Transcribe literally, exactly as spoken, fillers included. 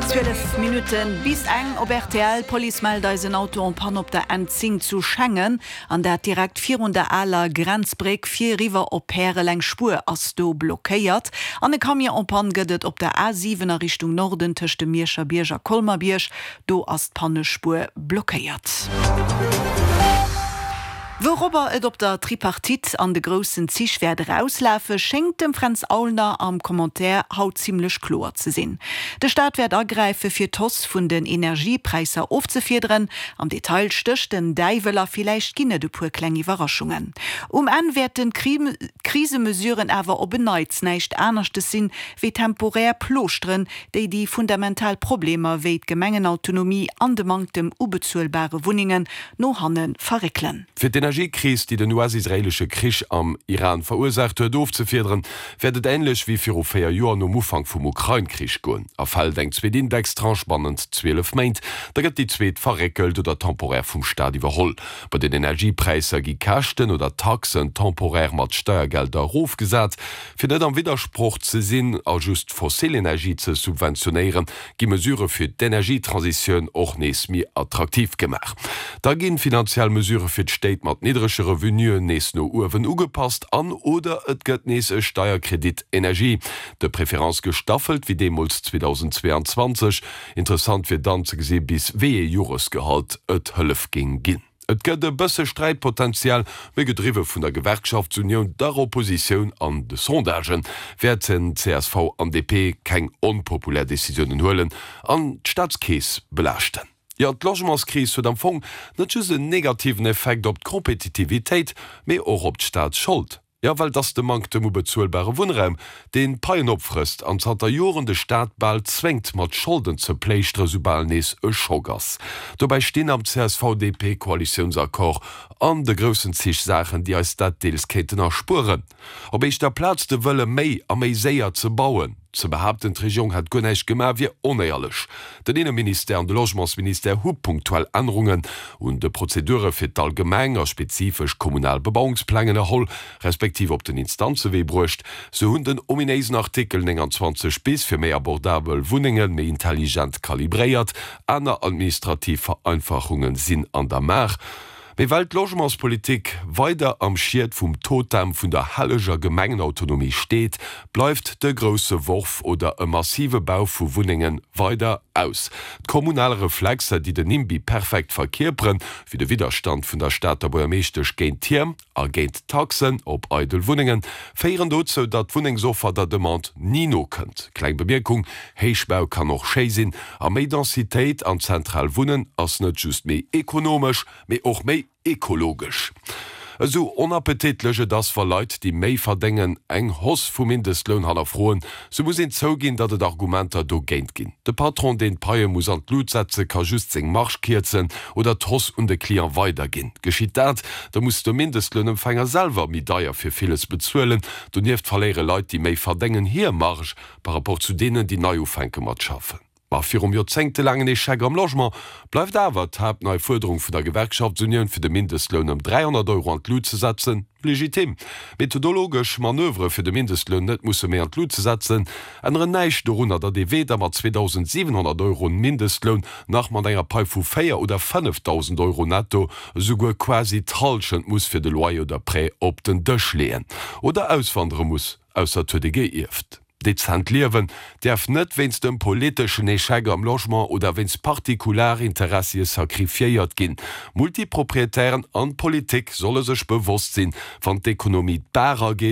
Zwielef Minutten bis eng op R T L. D'Police mellt eis en Auto en panne op der N zéng zu Schengen, an dat direkt virun der aler Grenzbréck fir eriwwer op Pärel. Eng Spuer ass do blockéiert. An e Camion en panne gëtt et op der A siwen a Richtung Norden tëscht dem Mierscher Bierg a Colmar-Bierg. Do ass d'Pannespuer blockéiert. Wourobber et op der Tripartite an de groussen Zich wäert erauslafe, schéngt dem Fränz Aulner am Commentaire haut zimmlech kloer ze sinn. De Staat wäert agräife fir d'Hausse vun den Energiepräisser ofzefiederen. Am Detail stécht den Däiwel a villäicht ginn et e puer kleng Iwwerraschungen. Um Enn wäerten d'Krisemesuren awer op en Neits näischt aneschtes sinn wéi temporär Plooschteren, déi déi fundamental Problemer wéi d'Gemengenautonomie an de Manktem u bezuelbare Wunnengen no hanne verréckelen. Fir d'Energiekris, déi den U S-israeelesche Krich am Iran verursaacht huet, ofzefiederen, wäert et änlech wéi viru véier Joer nom Ufank vum Ukrain-Krich goen. Erfält eng zweet Indextranche bannent zwielef Méint, da gëtt déi zweet verréckelt oder temporär vum Staat iwwerholl. Bei den Energiepräisser gi Käschten oder Taxen temporär mat Steiergelder erofgesat. Fir net am Widdersproch ze sinn a just fossil Energie ze subventionéieren, gi Mesurë fir d'Energietransitioun och nees méi attraktiv gemaach. Da ginn finanziell Mesurë fir d'Stéit mat niddrege Revenuen nees no uewen ugepasst an oder et gëtt nees e Steierkredit Energie, de Préférence gestaffelt wéi deemools zweedausendzweeanzwanzeg. Interessant wier dann ze gesi bis wéi ee Joresgehalt et Hëllef géing ginn. Et gëtt e bësse Sträitpotenzial, méi gedriwwe vun der Gewerkschaftsunioun, der Oppositioun an de Sondagen wäerten C S V an D P keng onpopulär Decisiounen huelen an d'Staatskeess belaaschten. Jo, d'Logementskris huet am Fong net just en negativen Effekt op d'Kompetitivitéit, mee och op d'Staatsschold. Jo, well et ass de Manktem u bezuelbare Wunnraum, deen d'Paien opfrësst an zanter Joren de Staat bal zwéngt mat Scholden ze pléischteren, soubal nees e Schock ass. Dobäi stinn am C S V-D P-Koalitiounsaccord an de groussen Zich Saachen, déi eis dat deels kéinten erspueren. Op éischter Plaz de Wëlle méi a méi séier ze bauen. Ze behaapten, d'Regierung hätt guer näischt gemaach, wier onéierlech. Den Inneministère an de Logementsministère hu punktuell Ännerungen un de Prozedure fir d'allgemeng a spezifesch kommunal Bebauungspläng ënnerholl, respektiv op den Instanzewee bruecht. Se hunn den ominéisen Artikel nénganzwanzeg bis fir méi abordabel Wunnenge méi intelligent kalibréiert, aner administrativ Vereinfachunge sinn an der Maach. Mee well d'Logementspolitik weider am Schiet vum Totem vun der helleger Gemengenautonomie steet, bleift de grousse Worf oder e massive Bau vu Wunnenge weider aus. D'kommunal Reflexer, déi den NIMBY perfekt verkierperen, wéi de Widderstand vun der Stater Buergermeeschtesch géint Tierm a géint Taxen op eidel Wunnengen, féieren dozou, datt d'Wunnengsoffer der Demande ni nokënnt. Kleng Bemierkung, Héichbau kann och schéi sinn, a méi Densitéit an zentral Wunnen ass net just méi ekonomesch, mee och méi ekologesch. Esou onappetitlech et ass, wa Leit, déi méi verdéngen, eng Hausse vum Mindestloun hannerfroen, sou muss een zouginn, datt et Argumenter dogéint ginn. De Patron, deen d'Paie muss an d'Lut setze, ka just seng Marge kierzen oder d'Hausse un de Client weiderginn. Geschitt dat, da muss de Mindestlounempfänger selwer méi deier fir villes bezuelen. Donieft verléiere Leit, déi méi verdéngen, hir Marge par rapport zu deenen, déi nei ufänke mat schaffen. Ma virum joerzéngtelaangen Echec am Logement bleift awer d'haaptnei Fuerderung vun der Gewerkschaftsunioun fir de Mindestloun ëm dräihonnert Euro an d'Lut ze setzen, legitim. Methodologesch Manövere fir de Mindestloun net musse méi an d'Lut ze setzen, änneren näischt dorunner, datt ee weder mat zweedausendsiwenhonnert Euro Mindestloun nach mat enger Pai vu véier oder fënnefdausend Euro netto esouguer quasi d'Hallschent muss fir de Loyer oder Prêt op den Dësch leeën oder auswandere muss, ausser et huet ee geierft. Dezent liewen däerf net wéinst dem politeschen Echec am Logement oder wéinst Partikularinteressie sacrifiéiert ginn. Multiproprietären an d'Politik solle sech bewosst sinn, wann d'Ekonomie d'Baach erageet,